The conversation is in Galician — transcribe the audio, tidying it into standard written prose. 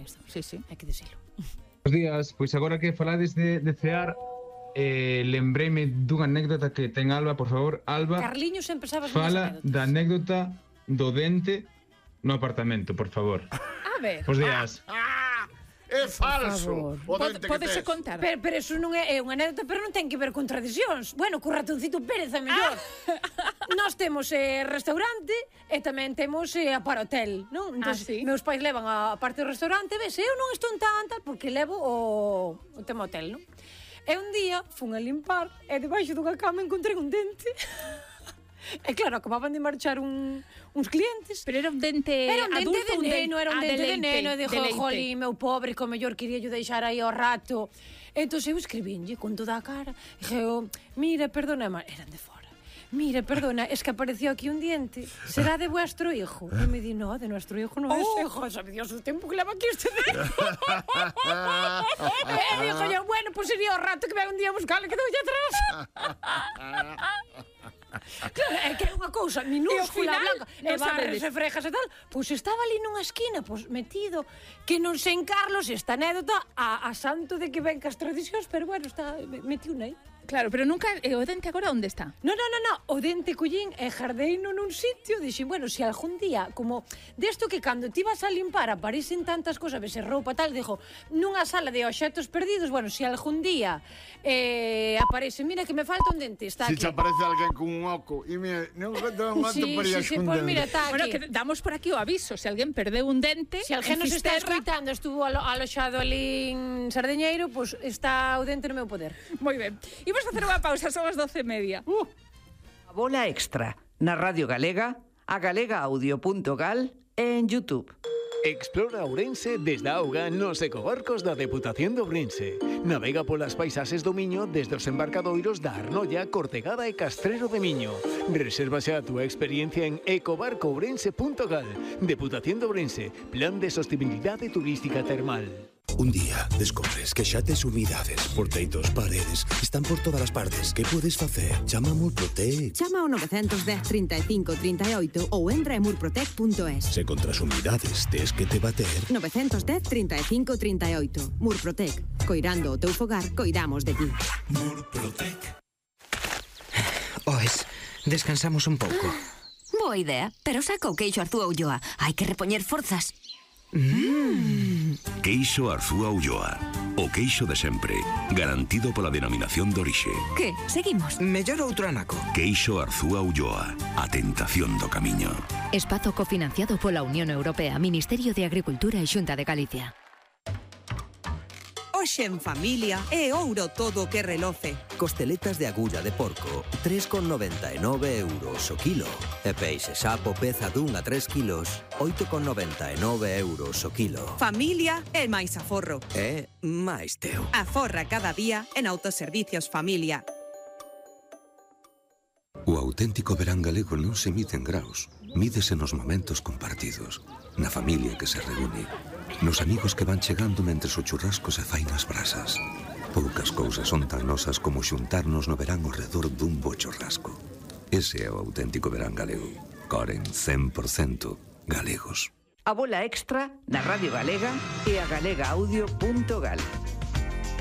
isto. Sí, hai que dicilo. Buenos días, pois agora que falades de cear, lembreime dunha anécdota que ten Alba, por favor. Alba, Carliños sempre sabes fala da anécdota do dente no apartamento, por favor. A ver. Bos días. É falso. O dente que Podese tes. contar. Pero eso non é unha anécdota, pero non ten que ver con tradicións. Bueno, co ratoncito Pérez é mellor. Nós temos restaurante e tamén temos a para hotel, non? Entón, sí? Meus pais levan a parte do restaurante, ves, eu non estou tan tal porque levo o tema hotel, non? E un día fun a limpar e debaixo dunha cama encontrei un dente. E claro, acababan de marchar uns clientes. Pero era un dente adulto, de neno, era un dente de neno. E dixo, leite. jolín, meu pobre, que o mellor quería yo deixar aí ao rato. Entón eu escribínlle con toda a cara. Dixo, mira, perdona, eran de fora. Mira, perdona, es que apareció aquí un diente. ¿Será de vuestro hijo? Y me di, no, de nuestro hijo no es. Hijo, sabe Dios el tiempo que leva aquí este dente. E dixo yo, bueno, pues sería o rato que venga un día a buscarle que deulle atrás. Claro, é que é unha cousa minúscula, blanca, e barres e frejas e tal. Pois estaba ali nunha esquina, pois metido, que non sei en Carlos esta anécdota a santo de que ven cas tradicións, pero bueno, está metido aí. Claro, pero nunca... o dente agora onde está? No, o dente collín e jardeino nun sitio. Dixen, bueno, se algún día, como desto que cando ti vas a limpar aparecen tantas cosas, vese roupa tal, dixo, nunha sala de obxectos perdidos, bueno, se algún día aparece, mira que me falta un dente, está Si aquí. te aparece alguén con un oco e mira, non conto un gato para ir Sí, pues mira, está Bueno, aquí. que damos por aquí o aviso. Se alguén perdeu un dente... Se alguén nos está escoitando, estuvo aloxado ali en Sardeñeiro, pois está o dente no meu poder. Moi ben. Imos facer unha pausa, son as 12:30. A bola extra na Radio Galega, a galegaaudio.gal e en YouTube. Explora Ourense desde a auga nos ecobarcos da Deputación de Ourense. Navega polas paisaxes do Miño desde os embarcadoiros da Arnolla, Cortegada e Castrero de Miño. Reserva xa a túa experiencia en ecobarcoourense.gal. Deputación de Ourense, Plan de Sostenibilidade Turística Termal. Un día descobres que xa tes humidades por teitos, paredes, están por todas as partes. Que podes facer? Chama a Murprotec. Chama ao 910 35 38 ou entra en murprotec.es. Se contra as humidades tes que te bater. 910 35 38. Murprotec. Coirando o teu fogar, coidamos de ti. Murprotec. Oes, descansamos un pouco. Boa idea, pero saca o queixo Arzúa Ulloa. Hai que repoñer forzas. Queixo Arzúa Ulloa. O queixo de sempre, garantido pola denominación de orixe. Que? Seguimos? Mellor outro anaco. Queixo Arzúa Ulloa. A tentación do camiño. Espazo cofinanciado pola Unión Europea, Ministerio de Agricultura e Xunta de Galicia. Hoxe en familia é ouro todo o que reloce. Costeletas de agulla de porco, 3,99 euros o kilo. E peixe sapo peza dun a 3 kilos, 8,99 euros o kilo. Familia é máis aforro. É máis teu. Aforra cada día en Autoservicios Familia. O auténtico verán galego non se mide en graus. Mídese nos momentos compartidos, na familia que se reúne, nos amigos que van chegando mentres o churrasco se fai nas brasas. Poucas cousas son tan nosas como xuntarnos no verán ao redor dun bo churrasco. Ese é o auténtico verán galego. Coren 100% galegos. A bola extra na Radio Galega e a galegaaudio.gal.